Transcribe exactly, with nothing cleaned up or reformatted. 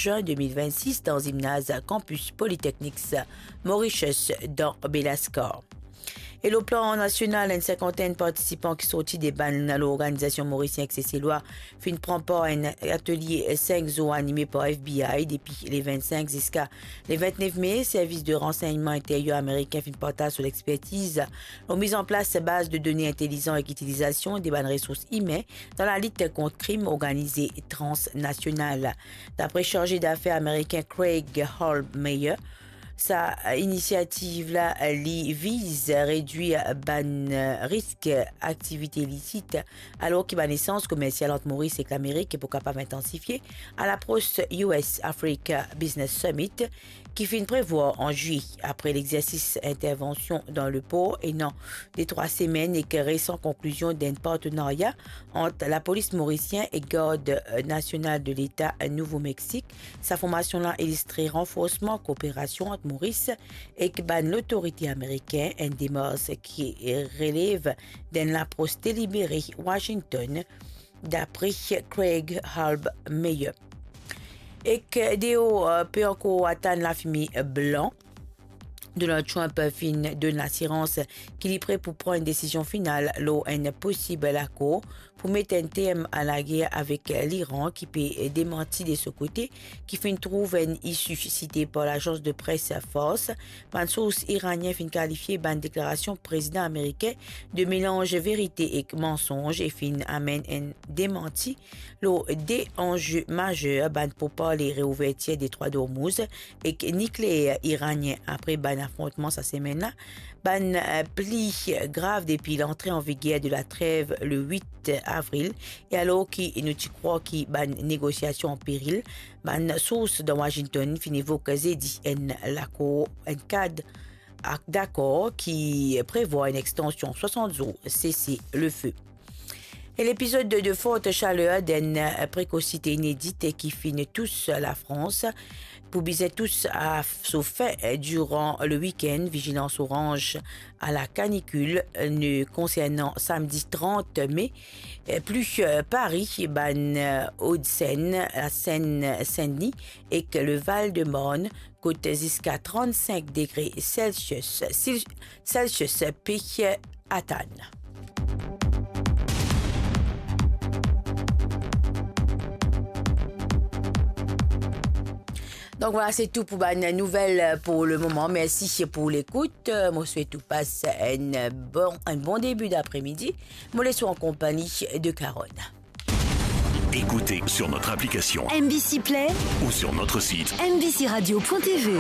juin de mil vennsis dan zimnaz Campus Polytechnics Mauritius dan Belascar. E lor plan nasional, enn sinkantenn partisipan ki sorti de bann lorganizasion morisien ek seselwa finn pran par enn atelie sink zour anime par F B I depi le vennsenk ziska le vintnef me. Servis de ransegnman interyer amerikin finn partaz so lexpertiz lor miz an plas baz de done intelizan ek itilizasion de bann resours imin dan lalit kont krim organize transnasional. Dapre sarze dafer amerikin Craig Halbmeier, sa inisiativ la, li viz redwir bann risk aktivite ilisit, alor ki bann esanz komersial ant Moris ek Lamerik pou kapav intansifie, a lapros U S Africa Business Summit ki finn prevwar an zilye. Apre legzersis intervansion dan lepor ena de trwa semenn ek resan konklizion d'enn partenarya ant lapolis morisien ek Gard Nasional de Leta Nouvo Meksik, sa formasion la ilistre ranforsman kooperasion ant Moris ek bann lotorite amerikin, enn demars ki relev d'enn lapros delibere Washington, dapre Craig Halbmeier. Ek deor pe ankor atann lafime blan, Donald Trump finn donn lasirans ki li pre pou pran enn desizion final lor enn posib lakor pou met enn term a lager avek Liran, ki pe demanti de so kote ki finn trouv enn isi site par lazans de pres Fars. Bann sours iranien finn kalifie bann deklarasion prezidan amerikin de melanz verite ek mansonz e finn amenn enn demanti lor de anze mazer, bann pourparle reouvertir detrwa Dormouz ek nikleer iranien apre bann afrontman sa semenn la, bann, eh, pli grav depi lantre an viger de latrev le wit avril, e alor ki nou ti krwar ki bann negosiasion an peril, bann sours dan Washington finn evok zedi enn lakor, enn kad ak dakor ki prevwar enn extansion swasant zour sese lefe. E lepizod de, de fort shaler d'enn prekosite inedit ki finn tous Lafrans pou bizin tous a so fin diran le wikenn. Vizilans oranz a la kanikil ne konsernan samdi trant me, pli Pari, bann Hauts-de-Seine, la Seine-Saint-Denis ek le Val-de-Marne, kot ziska trant-sink degre Celsius, Celsius pe atann. Donk vwala, se tou pou bann nouvel pou le moman. Mersi pou lekout. Mo swet ou pas enn bon, enn bon debi dapremidi. Mo les ou an konpagni de Carole. Écoutez sur notre application M B C Play ou sur notre site M B C radio point T V.